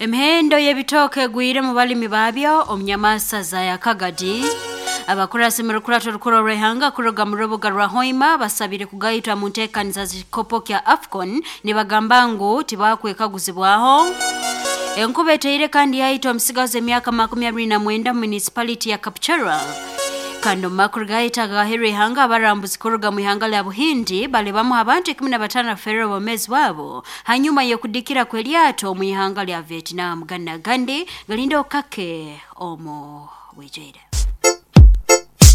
Emihendo y'ebitooke egwire mu balimi baabyo omu nyamasa za Yakagadi. Abakurasi mu rukurato rukuru orw'ihanga kuruga mu rubuga rwa Hoima basabire kugaitwa mu nteekaniza z'ekikopo kya AFCON nibagamba ngu tibakwekaguzibwaho. Enkuba eteire kandi yaita omusigazi emyaka 29 mu municipality ya Kapchorwa. Kandi omu makuru gaita agaherwa ihanga, abarambuzi kuruga mu ihanga lya Buhindi bali bamu abantu 15 baferire obwomeezi bwabo hanyuma y'okudikira kw'eryato omu ihanga lya Vietnam. Ganu n'agandi galinde okake omu bwijwire.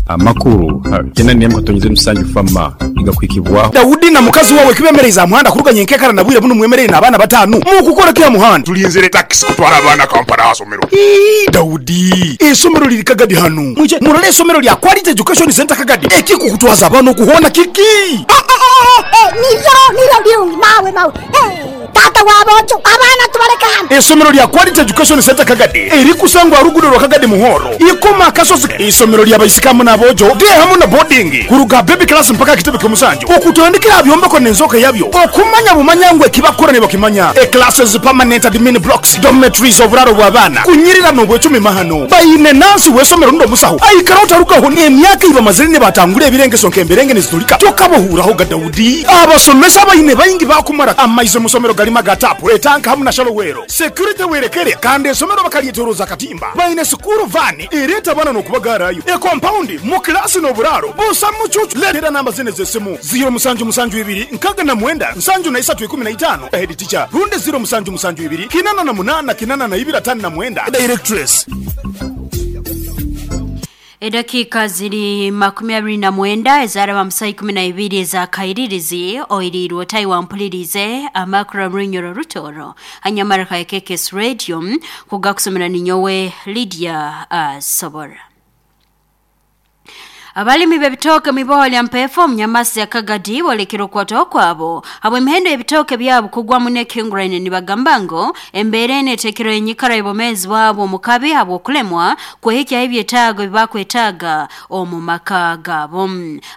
Amakuru ha 87.7 Fama nigakuhikibwaho. Daudi na mukazi wawe kibemereize aha muhanda kuruga nyenkekara na bwire bunu mwemereire n'abaana bataanu mukukora ki aha muhanda? Tulinzire takisi kutwara abaana Kampala aha somero. Ii Daudi, eisomero liri Kagadi hanu. Mwije murole eisomero lya Quality Education Centre Kagadi. Ekikukutwaza abaana oku hoona kiki? Eh, eh, eh, nibyo, nibyo birungi mawe, mawe. Eh, taata w'aboojo, abaana tubaleke hanu. Eisomero lya Quality Education Centre Kagadi erikusangwa aha ruguudo rwa Kagadi Muhoro, Ikoma Akasozi. Eisomero lya baisiki hamu n'aboojo, day hamu na boarding, kuruga aha baby class mpaka aha kitebe ky'omusanju. Okutandikira aha byombeko n'enzooka yabyo, okumanya bumanya ngu eki bakukora nibakimanya. Eclasses, permanent admin blocks, dormitories, oburaaro bw'abaana, kunyirira n'obwecumi mahano. Baine nansi w'eisomero rundi omusaho aikara otarugaho. Emyaka ei bamazire nibatangura ebirengeso nk'emberenge nizitulika, tokabahuurahoga Daudi. Abasomesa abaine baingi baakumara amaizi omu isomero garimu aga taapu, etanka hamu na shallow well. Security werekere kandi eisomero bakaryetoroza akatimba. Baine sikuuru vaani ereeta abaana n'okubagaarayo. Ekompaundi, mu kilaasi n'oburaaro busa mucuucu. Leetera namba zinu ez'esimu, ziiro musanju musanju ibiri nkaga na mwenda nsanju na isatu ikumi na itaano, Head teacher, rundi ziiro musanju musanju ibiri kinana na munaana kinana na ibiri ataano na mwenda, Directress. Edakiika ziri 29 ezaraba mu saa 12 eza kairirizi oiriirwe otayi wampulirize amakuru omurunyoro rutoro hanyamara ka KKS Radio kugakusomera ninyowe Lydia Asobora. Abalimi b'ebitooke mu iboho lya Mpefo omu Nyamasi ya Kagadi boolekire okwataho kwabo habw'emihendo y'ebitooke byabo kugwamu n'ekihinguraine nibagamba ngu embeera enu eteekere enyikara y'obwomeezi bwabo omu kabi habw'okulemwa kwehikyaho ebyetaago ebi bakwetaaga omu maka gaabo.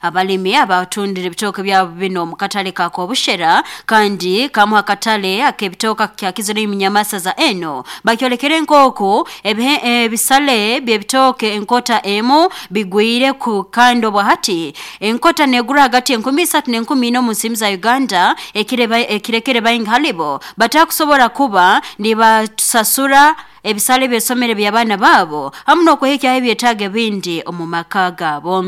Abalimi abatundire ebitooke byabo binu omu katale ka Kobushera kandi kamu ha katale ak'ebitooke akakyakizire omu Nyamasa za eno bakyolekere nk'oku ebisale by'ebitooke enkota emu bigwire ku kandi obwa hati enkota negura hagati enkumi isatu n'enkumi ina omu nsimu za Uganda ekirekere baingi halibo batakusobora kuba nibatusasura ebisale by'esomero by'abaana baabo hamu n'okwehikyaho ebyetaago ebindi omu maka gaabo.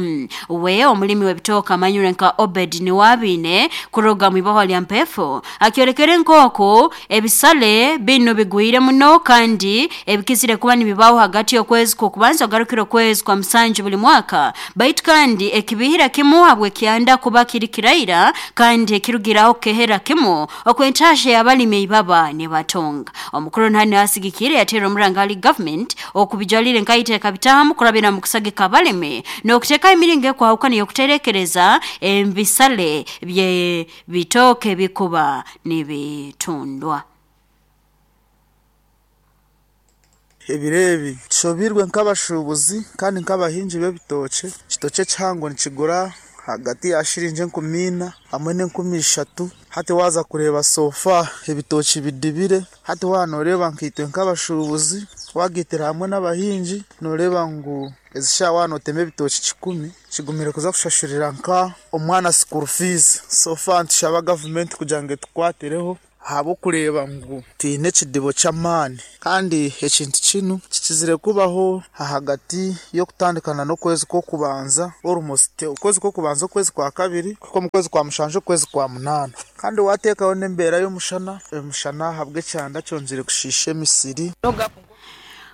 We omulimi w'ebitooke amanyirwe nka Obed Niwabiine kuruga mu iboho lya Mpefo akyolekere nk'oku ebisale binu bigwire muno kandi ebikizire kuba nibibaho hagati y'okwezi kw'okubanza ogarukire okwezi kwa musanju buli mwaka, baitu kandi ekibihira kimu habw'ekyanda kuba kiri kiraira kandi ekirugiraho kukehera kimu okw'entasha y'abalimi eibaba nibatonga. Omukuru ntani asigikire yatera omuranga hali government okubijalire nkaiteeka bitahamu kurabira mu kusagika abalimi n'okuteekaho emiringo ekwahukana y'okuterekereza ebisale bye bitooke bikuba nibitundwa. Ebiro ebi tushobeirwe nk'abashuubuzi kandi nk'abahingi b'ebitookye. Ekitookye ekihango nikigura hagati ya shiringi 4,000 hamwe n'3,000. Hati waaza kureeba sofa ebitookye bidibire. Hati waaba nooreeba nkaitwe nk'abashuubuzi waagaitira hamwe n'abahingi nooreeba ngu ezi shaaha waaba nootema ebitookye 100 kigumire kuza kushashurira nka omwana school fees. Sofa nitushaba gavumenti kugira ngu etukwatireho ahabw'okureeba ngu twine ekidibo ky'amaani. Kandi ekintu kinu kikizire kubaho ahagati y'okutandikana n'okwezi kw'okubanza almost okwezi kw'okubanza okwezi kwa kabiri kuhika omu kwezi kwa mushanju okwezi kwa munaana. Kandi waateekaho n'embeera y'omushana, omushana ahabw'ekyanda kyongyire kushiisha emisiri.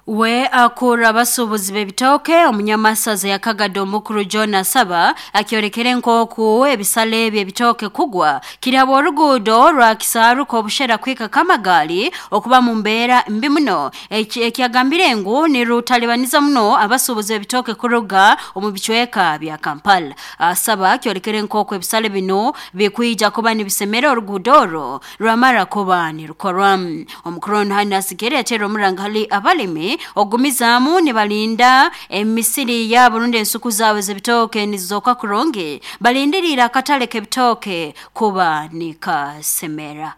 We akura abasuubuzi b'ebitooke omunyamasaza ya Kagadi omukuru John Asaba akyolekere nk'oku ebisale by'ebitooke kugwa kiri habw'oruguudo rwa Kisaaru Kobushera kuhika Kamagali okuba mu mbeera mbi muno ekyagambire ngu nirutalibaniza muno abasuubuzi b'ebitooke kuruga omu bicweka bya Kampala. Asaba akyolekere nk'oku ebisale binu bikwija kuba nibisemera oruguudo orwo rwamara kuba nirukorwa. Omukuru onu hanu asigere yateera omuranga hali abalimi ogumizaamu nibalinda emisiri yaabo rundi ensuku zaabo z'ebitooke nizizooka kurungi balindiriire akatale k'ebitooke kuba nikasemera.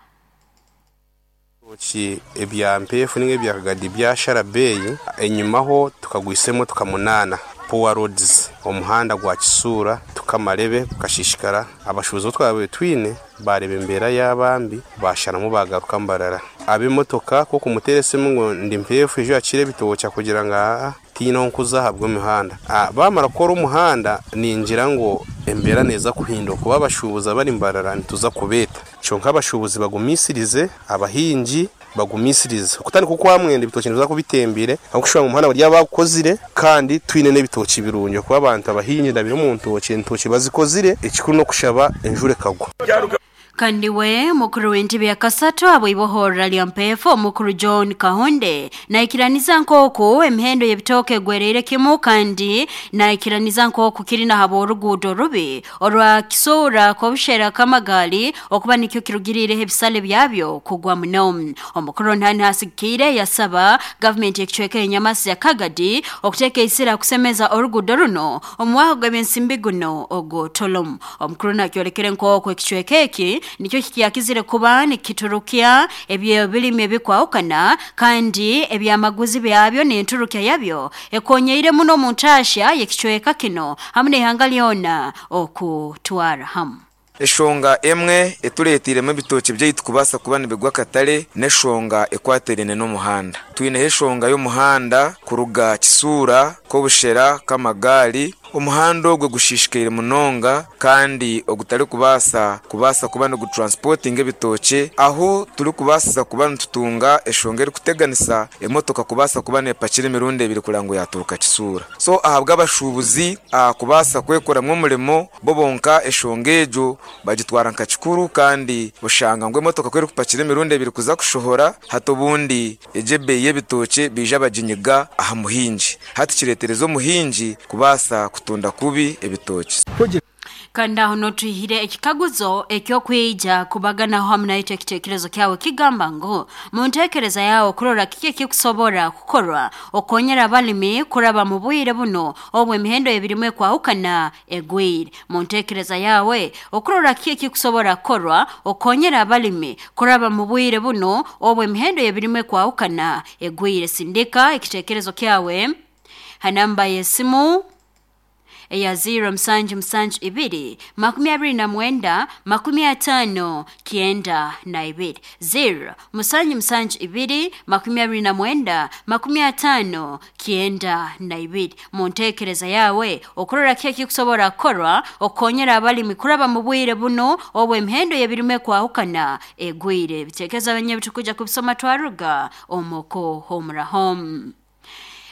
Ebitookye ebya mpeefu ninga ebya kagadi byashara beeyi, enyimaho tukagwisa emotoka munaana poor roads omuhanda gwa Kisuura tukamarebe gukashishikara abashuubuzi abu twabaire twine baareeba embeera yaaba mbi baasharamu baagaruka Mbarara. Ab'emotoka ku okumuteera esimu ngu ndi mpeefu ija oyakire ebitookye akugira ngu aa tihaine ahu nkuza ahabw'emihanda. Baamara kukora omuhanda ningira ngu embeera neeza kuhinduka kuba abashuubuzi abari Mbarara nituza kubeeta. Kyonka abashuubuzi bagumisirize, abahingi bagumisirize. Okutandika okwamwenda ebitookye nibiza kuba bitembire ahabw'okushusha ngu omuhanda bari bagukozire kandi twine n'ebitookye birungi ahakuba abantu abahingi ndabire omu ntookye, entookye bazikozire ekikuru n'okushaba enjura ekagwa. Kandi we mukuru w'entebe ya kasatu habw'ibohorra lya Mpeefu omukuru John Kahonde naikiraniza nk'oku emihendo y'ebitooke egwereire kimu kandi naikiraniza nk'oku kiri na habw'oruguudo rubi orwa Kisuura Kobushera Kamagali okuba nikyo kirugiriireho ebisale byabyo kugwa muno. Omukuru Ntani asigikiire yasaba gavumenti y'ekicweka y'enyamasi ya Kagadi okuteeka isira kusemeza oruguudo runo omu mwaka gw'ebyensimbi guno ogw'otolomu. Omukuru nakyolekere nk'oku ekicweka eki nikyo kikyakizire kuba nikiturukya eby'ebirimi ebikwahukana kandi ebyamaguzi byabyo n'enturukya yabyo ekonyeire muno omu ntaahya y'ekicweka kino hamu n'ihanga lyona okutwara hamu. Eshonga emwe etureeteiremu ebitookye byaitu kubaasa kuba nibigwa akatare n'eshonga ekwatiraine n'omuhanda. Twineho eshonga y'omuhanda kuruga Kisuura, Kobushera, Kamagaari. Omuhanda ogwo gushiishikaire munonga kandi ogutarikubaasa kubaasa kuba nigutransipotinga ebitookye ahu turikubaasiza kuba nitutunga eshonga erikuteganisa emotoka kubaasa kuba neepakira emirundi ebiri kureba ngu yaaturuka Kisuura. So ahabw'abashuubuzi kubaasa kwekoramu omurimo bo bonka eshonga egyo bagitwara nka kikuru kandi oshanga ngu emotoka ku erikupakira emirundi ebiri kuza kushohora hati obundi egyo ebeeyi y'ebitookye baija baginyiga aha muhingi. Hati kireetereza omuhingi kubaasa kutunda kubi ebitookye. Kandi aho n'otwihire ekikaguzo eky'okwija kubaganaho hamu naitwe ekitekerezo kyawe kigamba ngu muntekereza yawe kurora kiki ekikusobora kukorwa okukonyera abalimi kuraba mu bwire buno obu emihendo y'ebirimu ekwahukana egwire. Muntekereza yawe okurora kiki ekikusobora kukorwa okukonyera abalimi kuraba mu bwire buno obu emihendo y'ebirimu ekwahukana egwire. Sindika ekitekerezo kyawe ha namba y'esimu eya 0 musanju musanju ibiri makumi abiri na mwenda makumi ataano kyenda na ibiri 0 musanju musanju ibiri makumi abiri na mwenda makumi ataano kyenda na ibiri. Muntekereza yawe okurora kiki ekikusobora kukorwa okukonyera abalimi kuraba mu bwire buno obu emihendo y'ebirimu ekwahukana egwire. Ebitekerezo abanyebi kubisoma twaruga omuko homuraho.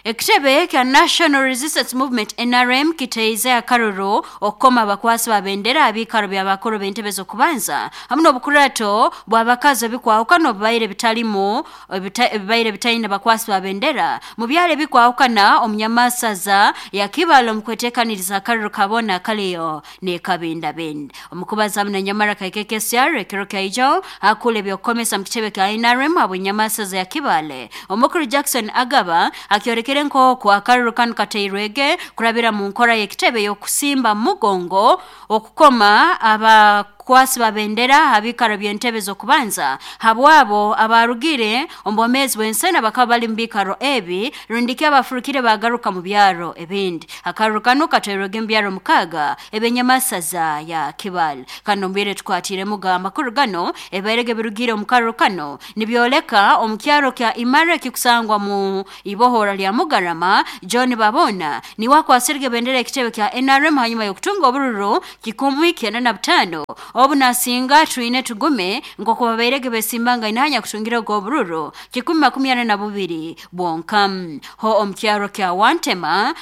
Ekitebe kya National Resistance Movement NRM kiteize akaruru okukoma abakwasi ba bendera abiikaro by'abakuru b'entebe z'okubanza hamu n'obukurato bw'abakazi ebikwahukana obubaire bitalimu ebibaire bitaine bakwasi ba bendera mu byaro ebikwahukana omunyamasaza ya Kibale omu kweteekaniriza akaruru kabona kaliyo n'ekabindabindi. Omukubaza hamu na Nyamara KKKSR ekiro kyaijo akula ebyokukomesa mu kitebe kya NRM habw'enyamasaza ya Kibale. Omukuru Jackson Agaba akyorekere nk'oku akaruru kanu kateirwege kurabira mu nkora y'ekitebe y'okusimba mugongo okukoma abakwasi ba bendera abiikaro by'entebe z'okubanza habwabo abarugire omu bwomeezi bw'ensena bakaba bali mu biikaro ebi rundiki abafurukire bagaruka mu byaro ebindi. Akaruru kanu kateirwege mu byaro mukaaga eb'enyamasaza ya Kibale. Kandi omu tukwatiiremu ga amakuru gano ebibairege birugire omu karuru kano nibyoleka omu kyaro kya Imara ekikusangwa mu ibohora lya Mugarama John Babona niwe akwasirege bendera ekitebe kya NRM hanyuma y'okutunga obururu 195 obu nasinga twine tugume nk'oku babairege besimbanga inahanya kutungira ogwo obururu 142 bwonka. Ho omu kyaro kya Wantema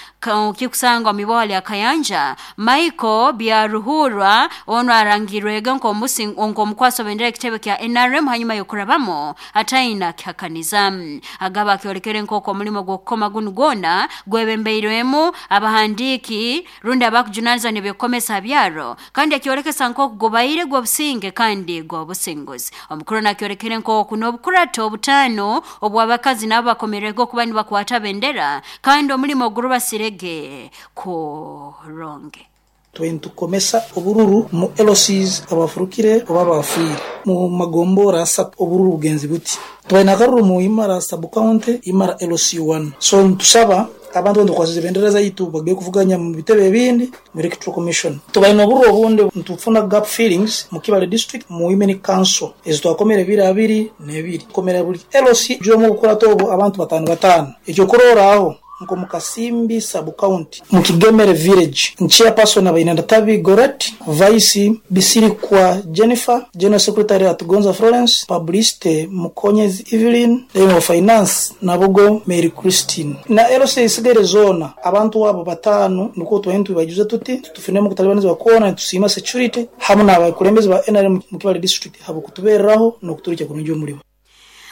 kikusangwa mu iboha lya Kayanja Michael Byaruhurwa ono arangirwege nk'omukwasi wa bendera ekitebe kya NRM hanyuma y'okurabamo ataina kihakaniza. Agaba akyolekere nk'oku omulimo gw'okukoma gunu gwona gwebembeirwemu abahandiiki rundi abakujunanizibwa n'ebyokukomesa byaro kandi akyolekesa nk'oku gubaire gw'obusinge kandi gw'obusinguzi. Omukuru nakyolekere nk'oku n'obukurato obutaano obw'abakazi nabo bakomererwe okuba nibakwata bendera kandi omulimo gurubasirege kuronge. Tubaire nitukomesa obururu mu LCs abafurukire oba abafiire mu magombora asatu obururu bugenzi buti. Tubaire n'akaruru mu Imara sub county, Imara LC1. So nitusaba abantu boona tukwasize ebendera zaitu bagende kuvuganya mu bitebe ebindi mu Electoral Commission. Tubaire n'obururu obundi nitufuna gap fillings mu Kibale district mu Women Council ezi twakomere ebiro abiri n'ebiri. Tukomere buli LC omu obukurato obu abantu batano batano. Ekyokurorraho nk'omu Kasimbi sub-county mu Kigemere village, Chairperson abaine Ndatabi Gorret, Vice Bisirikwa Jennifer, General Secretary Atugonza Florence, Publicity Mukonyezi Evelyn, then owa Finance Nabugo Mary Christine. Na LC ezisigaire zoona abantu abo batano nukwo tubaire nitubaijuza tuti tufuniremu okutalibanizibwa kwona nitusiima security hamu n'abakulembeze ba NRM mu Kibale district habw'okutuberraho n'okuturukya kurungi omulimo.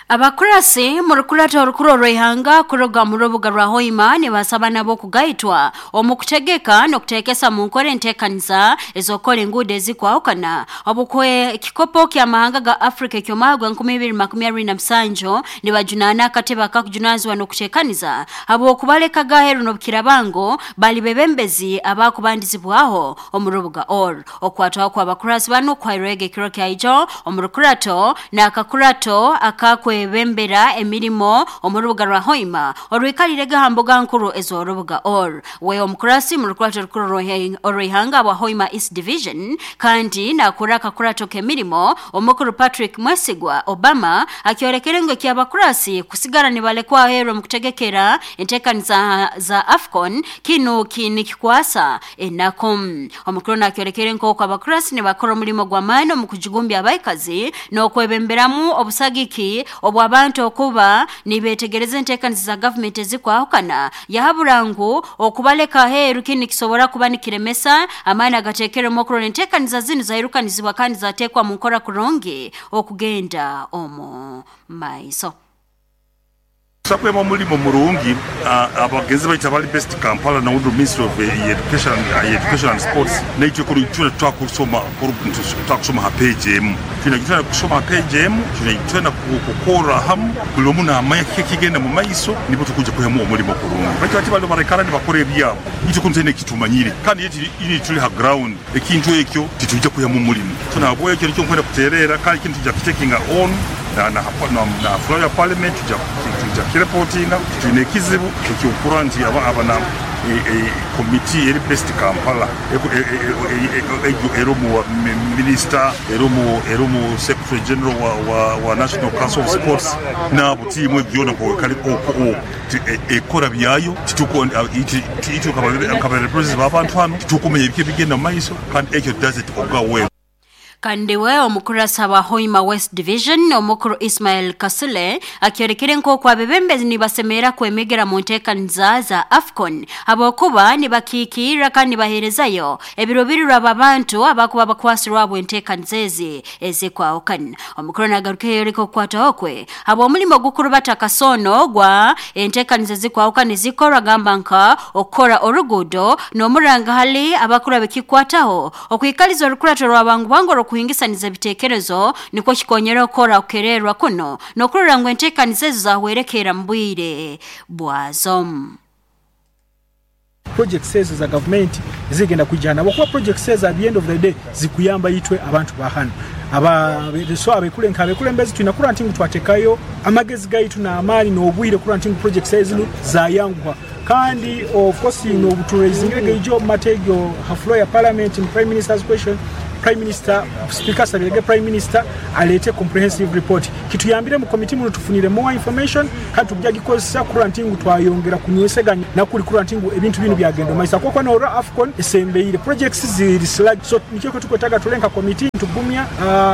Abakurasi mu rukurato orukuru orw'ihanga kuruga mu rubuga rwa Hoima nibasaba nabo kugaitwa omu kutegeka n'okuteekesa mu nkora enteekaniza ez'okukora enguudo ezikwahukana obukwe ekikopo ky'amahanga ga Africa eky'omwaka gwa 2027 nibajunaana akatebe akakujunanizibwa n'okuteekaniza habw'okubaleka gaheru n'obukirabango bali bebembezi abakubandizibwaho omu rubuga Or okwatwaho kw'abakurasi banu kwairwega ekiro kyaijo omu rukurato n'akakurato akakwe bembera emirimo omu rubuga rwa Hoima orwikalire ha mbuga nkuru ez'orubuga Or we omukurasi mu rukurato rukuru orw'ihanga bwa Hoima East Division kandi nakura akakurato k'emirimo omukuru Patrick Mwesigwa Obama akyorekere ngu ekyabakurasi kusigara nibalekwa aheeru omu kutegekera enteekaniza za AFCON kinu kinikikwasa enaku. Omukuru nakyorekere nk'oku abakurasi nibakora omulimo gw'amaani omu kujigumbya abaikazi n'okwebemberamu obusagiki obw'abantu okuba nibetegereza enteekaniza za gavumenti ezikwahukana yahabura ngu okubaleka aheeru kini kisobora kuba nikiremesa amaani agateekeremu okurora enteekaniza zinu zairukanizibwa kandi zateekwa mu nkora kurungi okugenda omu maiso. Tusakwema omulimo murungi abagenzi baitu abali best Kampala na Udu Ministry of Education and Sports naitwe kuri twakusoma ha page emu twina kusoma ha page emu twina kukora hamu buli omu naamanya kiki kigenda mu maiso nibo tukuja kuhemu omulimo kurungi baitu ati bali barekana nibakora ebyabo itwe kunu twine kitumanyire kandi ini tuli ha ground ekintu ekyo titujja kuhemu omulimo so nabwo ekyo nikyo nkwenda kuterera kandi kintu tujja kitakinga on na floor ya parliament tujja kireportinga twine ekizibu ekyokura nti abana committee eri best Kampala erumu minister erumu secretary general wa National Council of Sports nabo tiimu ebyona kale ekora byayo tituko itwe kabarepresentatives b'abantu hano titukumenya ebiki ebigenda mu maiso kandi ekyo does it go well. Kandi we omukurasa wa Hoima West Division omukuru Ismail Kasule akyorekere nk'oku abebembezi nibasemera kwemegera mu nteekaniza za AFCON habwokuba nibakiikirra kandi nibaheerezayo ebiruubirirwa b'abantu abakuba bakwasirwa abo enteekaniza ezi ezikwahukana. Omukuru nagaruka yoreka okukwataho kwe habw'omulimo ogukurubata kasono gwa enteekaniza ezikwahukana ezikorwa gamba nka okukora oruguudo n'omuranga hali abakuru abekikwataho okwikaliza orukurato rw'abangu kuhingisaniza ebitekerezo nikwo kikonyera okukora okukererwa kuno n'okurora ngu enteekaniza ezo zahwerekera mu bwire bwazo. Projects ezo za government zigenda kujana kuba projects ezo at the end of the day zikuyamba itwe abantu bahano aba so abekulenka abekulembezi twina kura nti twatekayo amagezi gaitu na amani n'obwire kura nti projects ezo zayanguha kandi of course no buturizingire ijo mategyo ha floor ya parliament in prime minister's question Prime Minister, Speaker Sabirege Prime Minister alete comprehensive report kituyambire mu committee muno tufunire more information kandi tujja gikozesa kurantingu twayongera kunyweseganya nakuli kurantingu ebintu bino byagenda maisa kwa no AFCON esembeire projects ziri slag so nikyo tukwetaga tulenka committee tugumya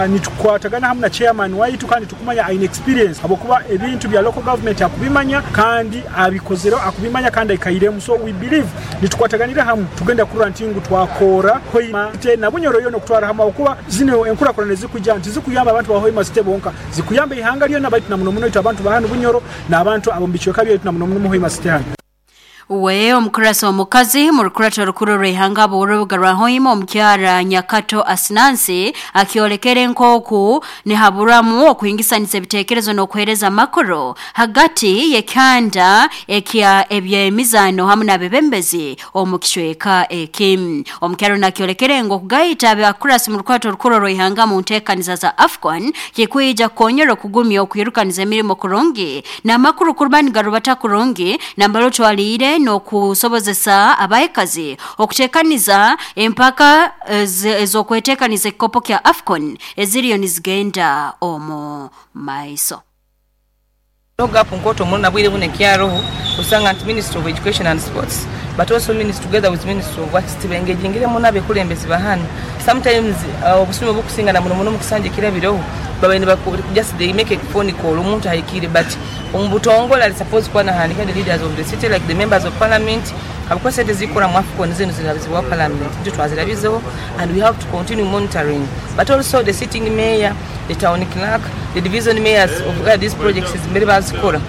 nitukwatagana hamwe na chairman waitu kandi tukumanya aine experience abokuba ebintu bya local government akubimanya kandi abikozero akubimanya kandi aikairemu so we believe nitukwataganira hamwe tugenda kurantingu twakora Hoima na Bunyoro yono kutwara hamwe okuba zino enkurakurana zikujja nti zikuyamba abantu ba Hoima State bonka zikuyamba ihanga lyona baitu na muno muno itu abantu bahanu Bunyoro n'abantu abo mu bicweka byaitu na muno muno Hoima State hano. We omukurasa omukazi mu rukurato rukuru rw'ihanga bw'orubuga rwa Hoima omukyara Nyakato Asinansi akiolekere nkoku nihaburamu okuhingisanisa ebitekerezo n'okuhereza amakuru hagati y'ekyanda ekya ebyemizano hamwe n'abebembezi omu kicweka eki. Omukyaro nakiolekere ngu okugayita abakurasi mu rukurato rukuru rw'ihanga mu nteekaniza za AFCON kikwija kukonyera okugumya okwirukaniza emirimo kurungi n'amakuru kuruba nigarubata kurungi nambalo twaliire n'okusobozesa abaekazi okuteekaniza empaka ez'okweteekaniza ekikopo kya AFCON eziriyo nizigenda omu maiso. Gap nkoto muno bwire bune kyaroho usanga nti Ministry of Education and Sports but also ministry together with Ministry of Works tibengejingire muno abekulembezi bahano sometimes obusume obukusinga na muno muno mukusanje kirabireho babaine just they make a phone call omuntu ahikire but omubutongola ali supposed kuba nahandika the leaders of the city like the members of parliament abuko sente zikora mu AFCON zino zirabizibwa parliament ndio twazirabizeho and we have to continue monitoring but also the sitting mayor, the town clerk, the division mayors of where these projects is mbere bazikora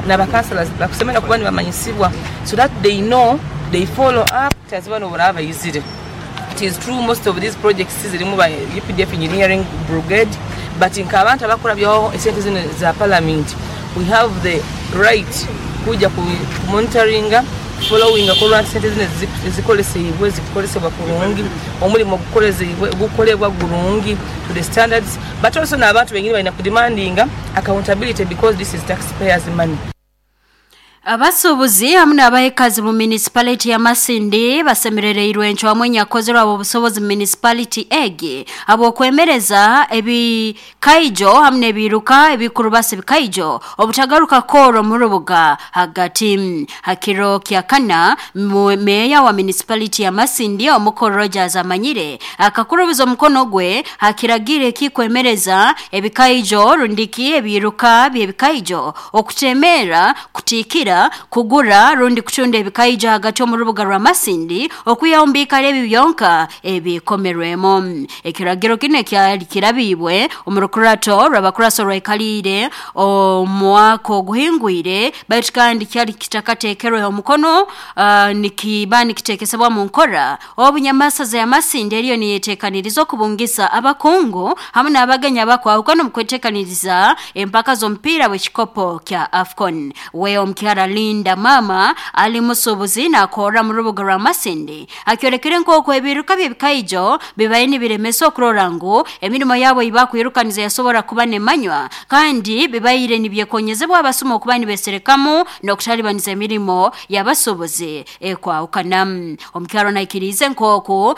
n'abakansellors bakusemera kuba nibamanyisibwa so that they know they follow up tazibano buraba yizire. It is true most of these projects zirimu ba UPDF engineering brigade but nkabantu abakora byaho esente zino za parliament we have the right kuja ku monitoringa following akorwa sente zino zikolesebwe zikolesebwa kurungi omulimo gukolezebwe gukolebwa gurungi to the standards but also n'abantu bengine balina kudemandinga accountability because this is taxpayers money. Abasuubuzi hamwe n'abahekazi mu municipality ya Masindi basemerereirwe encwamu enyakozerwa obusobozi mu municipality egi abokwemereza ebikaijo hamwe n'ebiruka ebikurubasa ebikaijo obutagaruka koro mu rubuga hagati. Hakiro kya kana meya wa municipality ya Masindi omukoro Rogers Amanyire akakurubiza omukono gwe hakiragire kikwemereza ebikaijo rundiki ebiruka by'ebikaijo okutemera kutikira kugura rundi kuchunda ebikaija hagati omu rubuga rwa Masindi okuyaombika ebi byonka ebikomerwemo. Ekiragiro kine kyali kirabibwe omu rukurato rw'abakuraso rwaikalire omwaka oguhingwire baitu kandi kyali kitakateekerweho omukono nikiba nikitekesebwa mu nkora obunyamasaza ya Masindi eriyo niyeteekaniriza okubungisa abakungu hamwe n'abagenya bakwahukana omu kweteekaniriza empaka z'omupiira w'ekikopo kya AFCON. We omukyara Linda Mama ali musubuzi nakora mu rubuga rwa Masindi akiolekere nk'oku ebiruka by'ebikaijo bibaye nibiremesa okurora ngu emirimo yabo ibakwirukaniza yasobora kuba nemanywa kandi bibaire nibyekonyezebwa abasuma okuba nibeserekamu n'okutalibaniza emirimo y'abasubuzi ekwahukana. Omukyaro naikirize nk'oku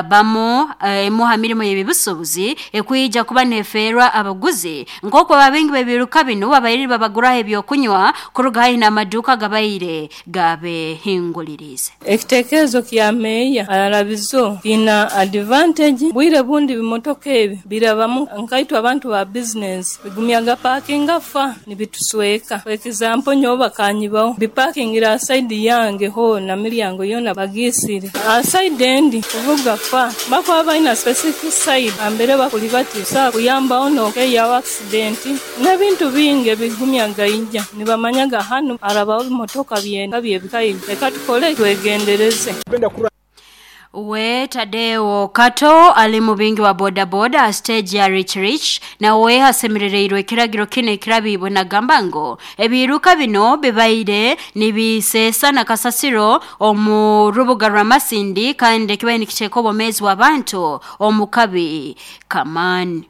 bamu emuha mirimo y'ebibusubuzi ekwija kuba nefeerwa abaguzi nk'oku ababengi b'ebiruka bino babaire babaguraho ebyokunywa kuruga haihi n'amaduka gabaire gabehingulirize. Ekitekerezo kya meya ararabizo kina advantage bwire bundi bimotoka ebi birabamu nkaitwa abantu ba business bigumyaga parkinga fa nibitusweka. For example nyoba kanyibaho biparkingira side yange ho na miryango yona bagisire side endi kuvuga fa bakwa baina specific side ambere bakulibati sa kuyamba ono ya accident n'ebintu bingi bigumyaga ijja nibamanyaga hano arabaho bimotoka byenda byebikayi reka tukole twegendereze. We Tadeo Kato ali mubingi wa boda boda stage ya Rich Rich na we hasemerereirwe ekiragiro kine ekirabibwe nagamba ngo ebiruka bino bibaire nibisesa na kasasiro omu rubuga rwa Masindi kandi kibaye nikiteeka obwomeezi bw'abantu omu kabi kamani.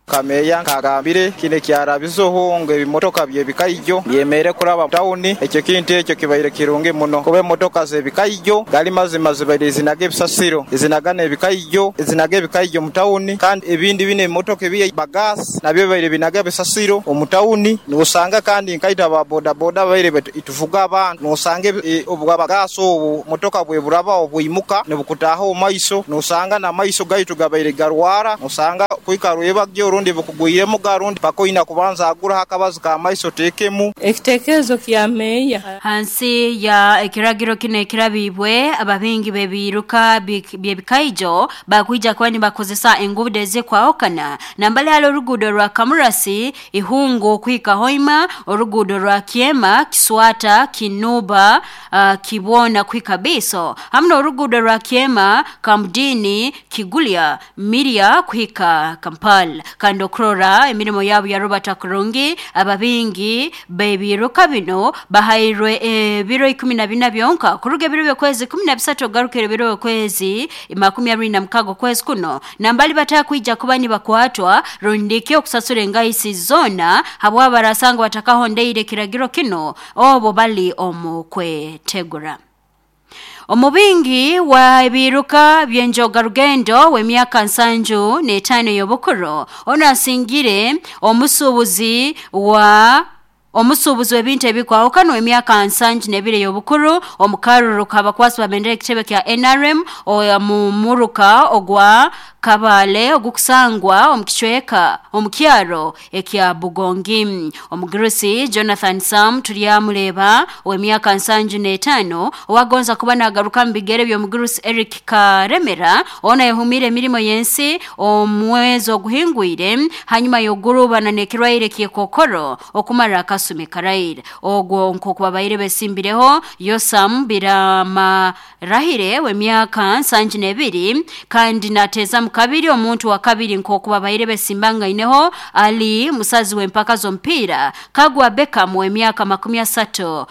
Kameya kagambire kine kyarabizoho ngo ebimotoka byebikaijo byemere kuraba tawuni ekyo kintu ekyo kibaire kirungi muno kuba emotoka zebikaijo gali mazima zibaire zinaga ebisasiro ezinagana ebikaijo ezinaga ebikaijo mu tawuni kandi ebindi bine emotoka ebiye bagas nabyo bibaire binaga ebisasiro omu tawuni nosanga kandi nkaita ba boda boda baire ituvuga abantu nosanga obwa bagas obu motoka bwe buraba obuimuka nebukutaho omaiso nosanga na maiso gaitu gabaire garwara nosanga kuikarweba gyo Orundi bukugwiremu ga rundi paka oina kubanza aguraho akabazi ka maiso oteekemu. Ekitekerezo kya meya. Hansi ya ekiragiro kino ekirabibwe, ababingi bebiruka byebikaijo bakwija kuba nibakozesa enguudo ezikwahukana nambali hali oruguudo rwa Kamurasi Ihungu kuhika Hoima, oruguudo rwa Kiema Kiswata Kinuba Kibona kuhika Biso, hamwe n'oruguudo rwa Kiema Kamdini Kigulya Miria kuhika Kampala. Kandi okurora emirimo yabo ya Robert Kurungi, ababingi bebiruka bino bahairwe ebiro 14 byonka kuruga ebiro by'okwezi 13 ogarukire ebiro by'okwezi 26 kwezi kuno, nambali batakwija kuba nibakwatwa rundiki okusasura engaisi zona habwa barasanga batakahondeire kiragiro kino obo bali omu kwetegura. Omubingi wa ebiruka byenjoga rugendo w'emyaka 75 y'obukuru ono asingire omusuubuzi wa omusuubuzi w'ebintu ebikwahukana emyaka 72 y'obukuru omukaruruka abakwasi babendera ekitebe kya NRM mu muruka ogwa Kabale ogukusangwa omukicweka omukyaro ekya Bugongi. Omugurusi Jonathan Sam tulyamuleba ow'emyaka 75 owagonza kuba nagaruka mu bigere by'omugurusi Eric Karemera ona yahumire emirimo yensi omwezi oguhingwire hanyuma y'ogurubana n'ekirwaire ky'ekokoro okumara akasumi karaire. Ogwo nkokubabaire besimbireho Yosam Biramarahire w'emyaka 72 kandi nateza mukabiri omuntu wa kabiri nkokubabaire besimbangaineho ali musazi w'empaka z'omupiira Kagwa Beckham w'emyaka 36.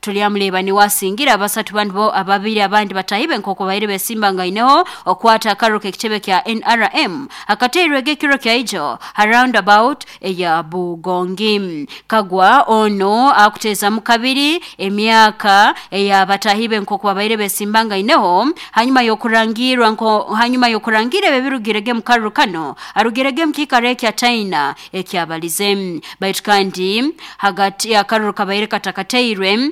Tulyamuleba ni wasingira abasatu bandi ababiri abandi batahibe nkokubabaire besimbangaineho okwata akaruka ekitebe kya NRM akateirwege ekiro kya ijo roundabout eya Bugongi. Kagwa ono akuteza mukabiri emyaka eya batahibe nkokubabaire besimbangaineho hanyuma yokurangirwa nko hanyuma yokurangire bebirugirege mukarukano arugirege mkikare kya China ekyabalize. Baitu kandi hagati akaruka baire katakateirwe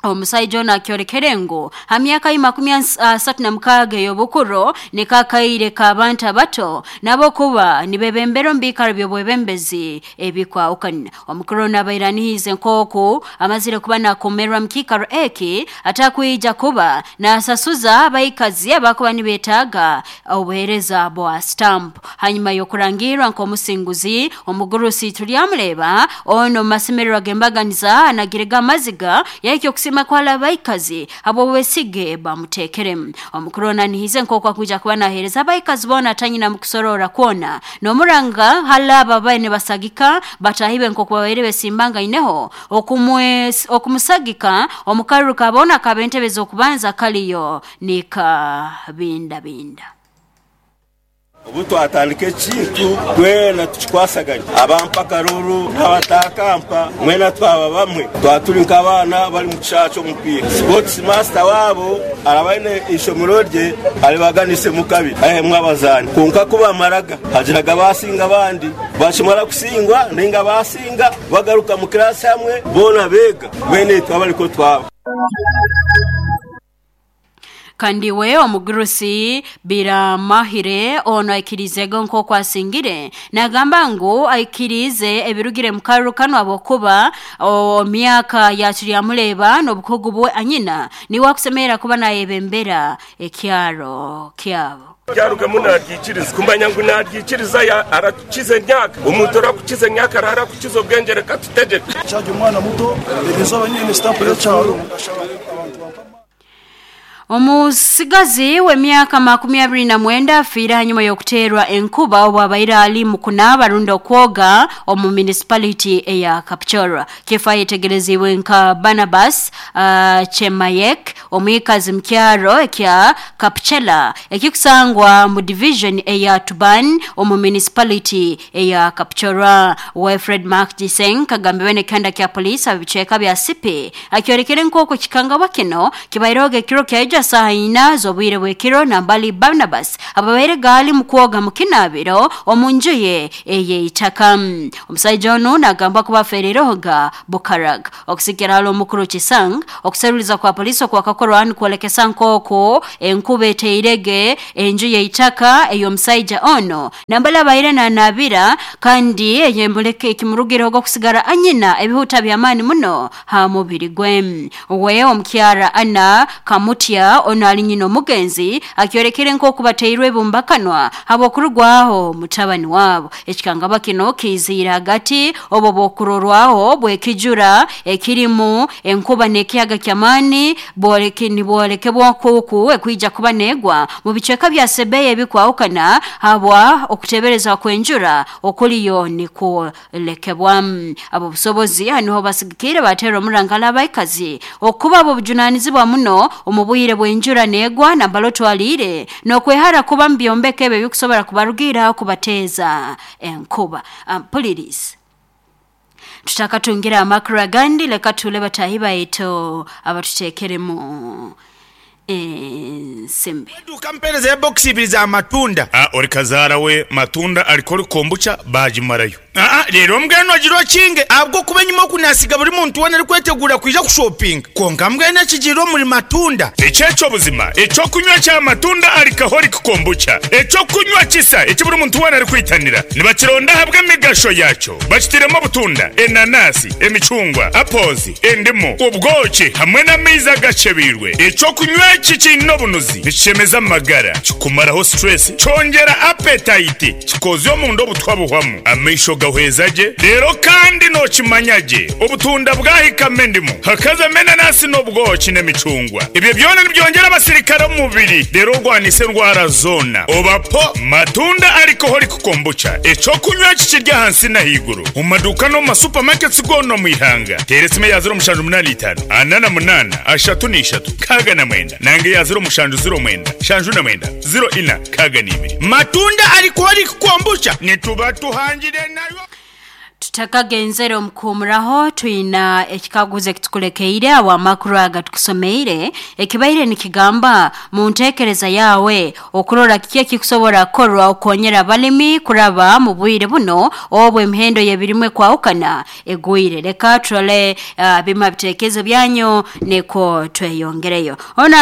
omusajja ono akyorekere ngu ha myaka 36 y'obukuru nikakaire k'abantu abato nabo kuba nibebembera omu biikaro by'obwebembezi ebikwahukana. Omukuru ono abairanihize nk'oku amazire kuba nakomerwa mu kiikaro eki atakwija kuba nasasuza abaikazi abakuba nibeetaaga obuheereza bwa stamp. Hanyuma y'okurangirwa nk'omusinguzi omugurusi tulyamuleba ono mu masemererwa g'embaganiza anagirega amaziga yahikya okusima kwala abaikazi abo wesige bamutekeremu. Omukuru ono anihize nk'oku akuija kuba naheereza abaikazi boona atanyina mu kusorora kwona n'omuranga halaba babaire nibasagika batahibe nk'oku babaire besimbangaineho okumusagika omukaruka boona akaba entebe z'okubanza kaliyo nikabindabinda. Obu twatandika ekintu twena tukikwasaganya abampa karuru n'abatakampa mwena twaba bamwe twaturi nk'abaana bari mu kishaaha ky'omupiira. Sports master waabo araba aine ishomero rye aribaganise mu kabiri ahemwe abazaani kwonka kubamaraga hagiraga basinga abandi bakimara kusingwa ninga basinga bagaruka mu kirasi hamwe boona beega mwene twaba ariko twaba. Kandi we omugurusi Biramahire ono aikirizego nk'oku asingire nagamba ngu aikirize ebirugire mu karukano abokuba myaka yakiryamuleba n'obukugu bwe anyina niwe akusemera kuba nayebembera ekyaro kyabo. Byarugamo naryikiriza kumanya ngu naryikiriza arakize emyaka omuntu orakukiza emyaka ararakukiza obwenge reka tutegeke. Kyajya omwana muto erizooba nyine stamp y'ekyaro. Omusigazi w'emyaka 29 afiire hanyuma y'okuteerwa enkuba obwabaire ali mu kunaaba rundi okwoga omu municipality eya Kapchorwa. Kifa yetegerezibwe nka Barnabas Chemayek omwikazi mu kyaro ekya Kapchela ekikusangwa mu division eya Tuban omu municipality eya Kapchorwa. Wilfred Mark Jiseng kagambiwe n'ekihanda kya poliisi abicweka bya Sipi akyorekere nk'oku kikangabwa kino kibaireho ekiro kya Rukungija saha 4 z'obwire bw'ekiro nambali Barnabas ababaire gali mu kwoga mu kinabiro omu nju ye ey'eitaka. Omusaija onu nagamba kuba afereerehoga Bukaraga. Okusikira hali omukuru Kisang, okuseruliza kwa polisi okwakakorwa nikwolekesa nk'oku enkuba eteirege enju y'eitaka ey'omusaija ono nambali abaire nanabira, kandi eyemuleke ekimurugireho okusigara anyina ebihuta by'amaani muno ha mubiri gwe. We omukyara Anna Kamutya ono ali nyina omugenzi akyorekere nk'oku bateirwe ebumbakanwa habw'okurugwaho mutabani wabo. Ekikangaba kino kiiziire hagati obwo bw'okurorwaho bw'ekijura ekirimu enkuba n'ekiyaga ky'amaani nibwolekebwa nk'oku ekwija kuba neegwa mu bicweka bya Sebeya ebikwahukana habwa okutebereza kw'enjura okuliyo nikwolekebwa. Abo busobozi niho basigikire batera omurangala abaikazi okuba abo bujunanizibwa muno omu bwire bw'enjura neegwa nambala otwaliire n'okwehara kuba mu byombeko ebyo ebikusobora kubarugiiraho kubateeza enkuba. Mpuliriza tutakatungira amakuru agandi, leka tule batahi baitu abatuteekeremu ensimbi. Eduuka mpeereza ya bokisi ibiri za matunda. A Ori kazaara we matunda alikori kombucha baagimarayo. Aa Reero mbwenu ogira okinge ahabw'okuba enyima oku naasiga buri muntu weena arikweteguura kwija kushopinga. Kwonka mbwenu ekigiire omuri matunda. Eki eky'obuzima, eky'okunywa kya matunda alcoholic kombucha, eky'okunywa kisa eki buri muntu weena arikwitanira. Nibakironda ahabw'emigasho yaakyo. Bakitairemu obutunda, enanasi, emicungwa, apples, endimu, obwoki hamwe n'amaizi agacebeirwe. Eky'okunywa eki kiine obunuzi, nikishemeza amagara, kikumaraho stress, kyongyera appetite, kikozya omunda obutwa buhwamu, amaisho gahweza gye, reero kandi nookimanya gye obutunda bwahikamu endimu, hakazamu enanasi n'obwoki n'emicungwa. Ebyo byona nibyongyera abasirikare omu mubiri reero orwanise endwara zoona. Oba po matunda alcoholic kombucha, eky'okunywa eki kiri ahansi n'ahaiguru omu maduuka n'omu ma supermarkets goona omu ihanga. Teera esimu eya 0785 48 33 69 nanga eya 0709 79 04 62. Matunda alcoholic kombucha nituba tuhangire nayo. Tutakagenzere omu kuhumuraho, twina ekikaguzo ekitukulekeire awo amakuru aga tukusomeire ekibaire nikigamba mu ntekereza yawe okurora kiki ekikusobora kukorwa okukonyera abalimi kuraba mu bwire buno obwo emihendo y'ebirimwa ekwahukana egwire. Leka turole bima bitekerezo byanyu niko tweyongereyo. Ono